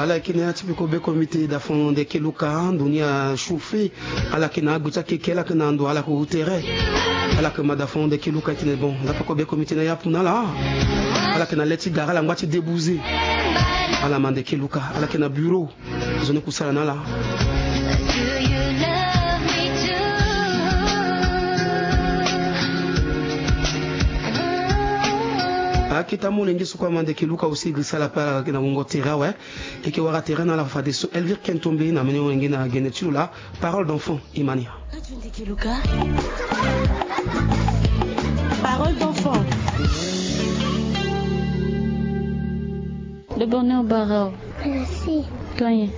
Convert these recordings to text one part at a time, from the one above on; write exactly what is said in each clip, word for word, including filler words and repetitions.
Ala yeke na ya ti peko be komite da fon de ke luka ndo ni a chauffe. Ala yeke na agbe ti akeke, ala yeke na ndo, ala yeke tere. Ala yeke ma da fon de ke luka, e tene bon, da peko be komite na ya apu na ala. Ala yeke na le ti gara, ala ngba ti débouser. Ala ma de ke luka, ala yeke na bureau. Zo ni kusala na ala. Akita molenge so kue ama de ke luka aussi, grisala pe ala yeke na wungo tere awe. E ke wara tere na ala fadeso. Elvire Kentombe na mene wenge na gene ti lo la. Parole d'enfant, Imania. Parole d'enfant. De bonheur, Barao. Merci. Toi, hein?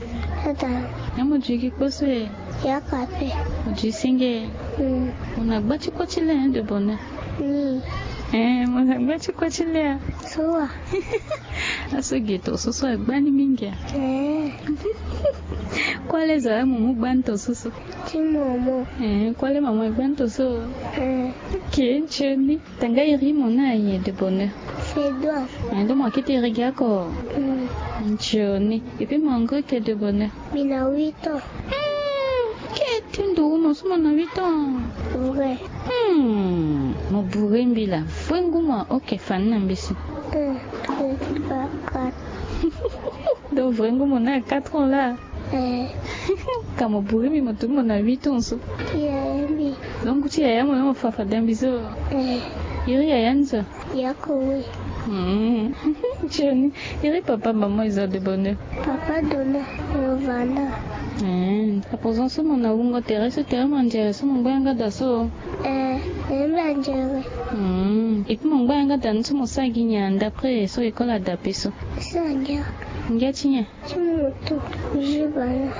Attends. Ya mo djuki kposo e. Ya kape. Mo djuki senge. Hmm. Mo na gba ti koti le, hein, de bonheur. Hmm. Eh, mo na gba ti koti le, ah. Soa. Aso ge to so so agba ni mingi, ah. Eh. Kue le zo amu mu gba ni to so so. Ti momo. Eh, kue le mama agba ni to so. Eh. Ok, ntioni. Tanga iri mo na aye, de bonheur. Fedwa. Eh, donc mo kete iri gi oko. Mm. Ntioni. Et puis mo ngoi ke, de bonheur? Mbi na huit ans. Hmm, ke ti ndo wu mo so mo na huit ans? Vrai. Hmm, mo bourre mbi la. Vrai ngu mo, ok, fani na mbi si. Un, deux, trois, quatre. Donc vrai ngu mo na quatre ans la. Eh. Ka mo bourre mbi, mo tongbi mo na huit ans so. Ti yaya mbi. Donc ti yaya mo, mo fa fade mbi so. Eh. Iri yaya ni so? Ya Kowe. Hmm. Ntioni. Iri papa mama e zo, de bonheur? Papa Dona, mo vanda. Hmm. Apo zo so mo na wungo tere so, tere manzere so mo ngba yanga da so? Eh, tere manzere. Hmm. Et puis mo ngba yanga da ni so mo sara gi nyen d'après so école adape so? Sara ngia. Ngia ti nyen? Ti moto, je bana,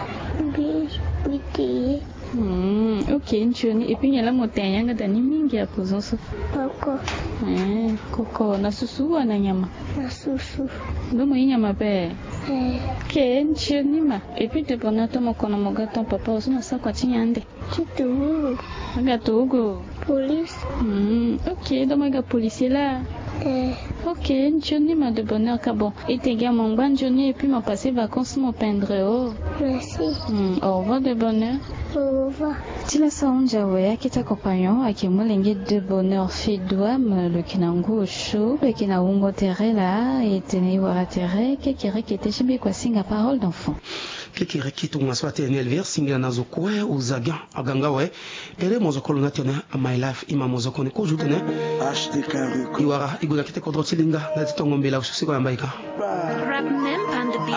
bi, bi te ye. Hmm, ok, ntioni. Et puis nyen la mo tene yanga da ni mingi apo zo so? Koko. Eh, koko, na susu wala na nyama? Na susu. Ndo mo ye nyama pe? Eh. Ok, ntioni ma. Et puis de bonheur, to mo kono mo ga ton papa, o so mo sara kua ti nyen ande? Ti turugu. Aga turugu. Police. Hmm, ok, donc aga policier la. Eh. Ok, ntioni ma, de bonheur ka bon. E te ga mo ngba ntioni et puis mo passer vacances mo pendre o. Merci. Hmm, au revoir de bonheur. Au revoir. Ti la sa hunzi awe, akita compagnon ayeke molenge de bonheur Fedwa, lo yeke na ngu osio, lo yeke na wungo tere laa, e tene e wara tere, kekereke ti mbi kua singa parole d'enfant. Kekereke tongaso atene ni Elvire, singila na zo kue, oza gi aganga awe. Ere mozokolo ni atene, my life, ima mozokoni kozo tene. H D K Record. E wara e gue na kete kodro ti linga na ti tongo mbela osusu e kue na mbaika. Rap name and the beat.